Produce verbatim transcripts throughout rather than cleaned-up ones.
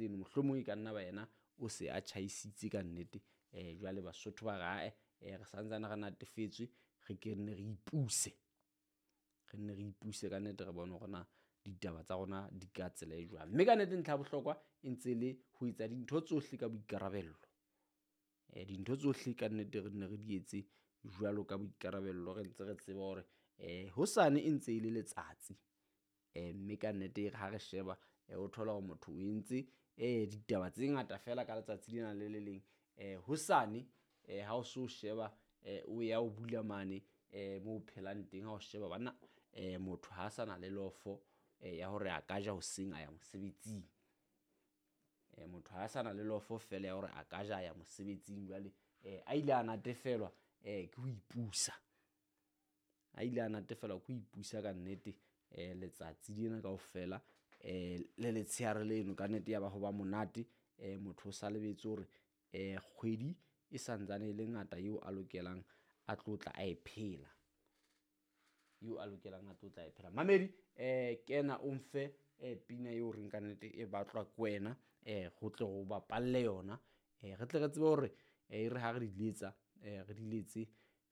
tseno. Mohlomong e ka nna ba yena o se a tjhaisitse ka nnete. Um jwale Basotho ba re ae um re santsane re natefetswe, re ke nne re ipuse, re nne re ipuse ka nnete, re bone hore na ditaba tsa rona di ka tsela e jwang. Mme ka nnete ntlha ya bohlokwa e ntse le ho etsa dintho tsohle ka boikarabello. Um dintho tsohle ka nnete re nne re di etse jwalo ka boikarabello, re ntse re tseba hore um hosane e ntse e le letsatsi. Um mme ka nnete ha re sheba o thola hore motho o entse um ditaba tse ngata feela ka letsatsi lena le le leng. Um hosane um ha o so sheba um o ya o bula mane um moo o phelang teng, ha o sheba banna um motho ha sa na le lofo ya hore a ka ja hoseng a ya mosebetsing. Um motho ha sa na le lofo feela ya hore a ka ja ya mosebetsing. Jwale um a ile a natefelwa um ke ho ipusa, a ile a natefelwa ke ho ipusa ka nnete. Um letsatsi lena kaofela um le letshehare leno ka nnete ya ba ho ba monate. Um motho o sa lebetse hore um kgwedi e santsane e le ngata eo a lokelang a tlo tla a e phela, eo a lokelang a tlo tla e phela. Mamedi um kena o mfe um pina eo reng ka nnete e batlwa ke wena, um ho tle ho bapalle yona, um re tle re tsebe hore e re ha re di letsa, um re di letse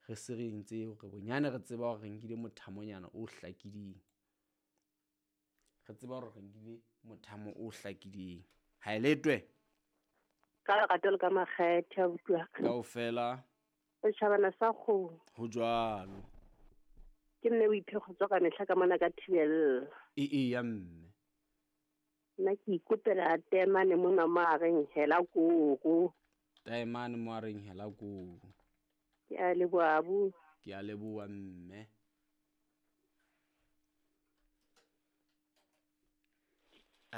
re se re entse hore bonyane re tseba hore re nkile mothamonyana o hlakileng, re tseba hore re nkile mothamo o hlakileng. Ha e letwe ka lerato le ka makgethe abuti wa ka. Kaofela setjhabana sa kgomo. Ho jwalo. Ke mme o iphe kgotso ka mehla ka mona ka thibella. E e ya mme. Nna ke ikopela taemane mona mo a reng hela koko. Taemane mo a reng hela koko. Ke a leboha abuti. Ke a leboha mme.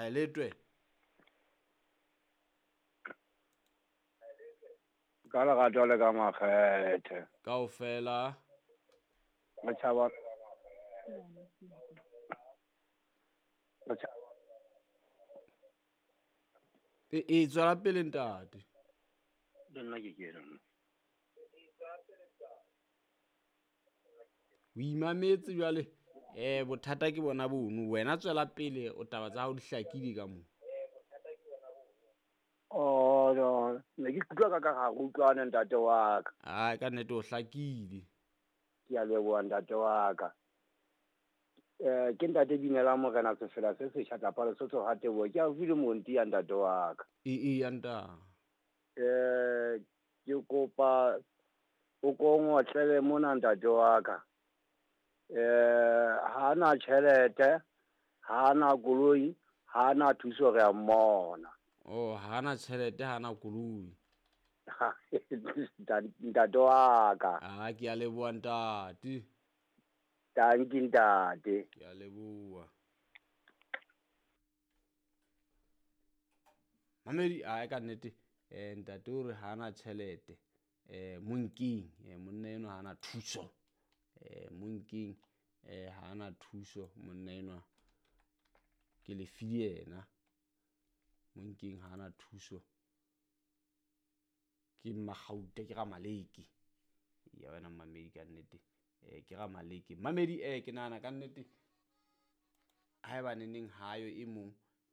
A letwe. Ka lerato le ka makgethe. Kaofela. Matjhaba. E e tswela pele ntate. Le nna ke kena. O imametse jwale. Eh bothata ke bona bono. Wena tswela pele o taba tsa hao di hlakile ka moo. Oh no, ne ke kutlwa ka ka ga go utlwane ntate wa ka. Ai ka nnete o hlakile. Ke a leboha ntate wa ka. Eh ke ntate Binela Morena Sefela se setjha tlapa Lesotho ha Teboho. Ke a utlwile monti ya ntate wa ka. E e ya ntate. Eh ke kopa o kongotlele mona ntate wa ka. Eh ha na tjhelete, ha na koloi, ha na thuso re a mmona. Oh, ha na tjhelete, ha na koloi. Ntate wa ka. Ah, ke a leboha ntate. Tanki ntate. Ke a leboha. Mamedi a ka nnete eh ntate o re ha na tjhelete. Eh monking, eh monna eno ha na thuso. Eh monking eh ha na thuso monna enwa. Ke le file yena. Monking ha na thuso. Ke Magauta ke Ramaleke. Ya wena mamedi ka nnete. Eh ke Ramaleke. Mamedi eh ke nahana ka nnete haeba neneng hayo e mong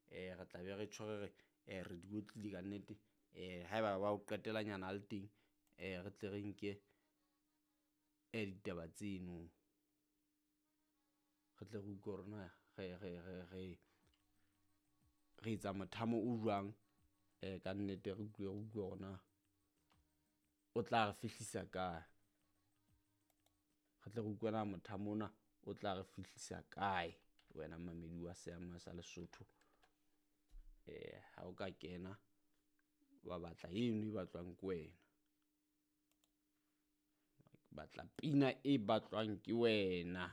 eh re tla be re tjho re eh re di otlile ka nnete. Eh haeba ba o qetelanyana a le teng eh re tle re nke eh ditaba tseno. Re tle re utlwe hore na re re re re re etsa mothamo o jwang eh ka nnete re utlwe re utlwe hore na o tla re fihlisa kae. Re tle re utlwe na mothamo ona o tla re fihlisa kae wena mamedi wa seama sa Lesotho. Eh ha o ka kena wa batla eno e batlwang ke wena, batla pina e batlwang ke wena.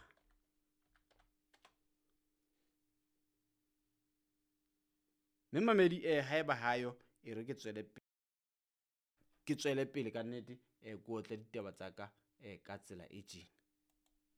Mme mamedi eh haeba hayo e re ke tswele ke tswele pele ka nnete eh ke otle ditaba tsa ka eh ka tsela e tjena.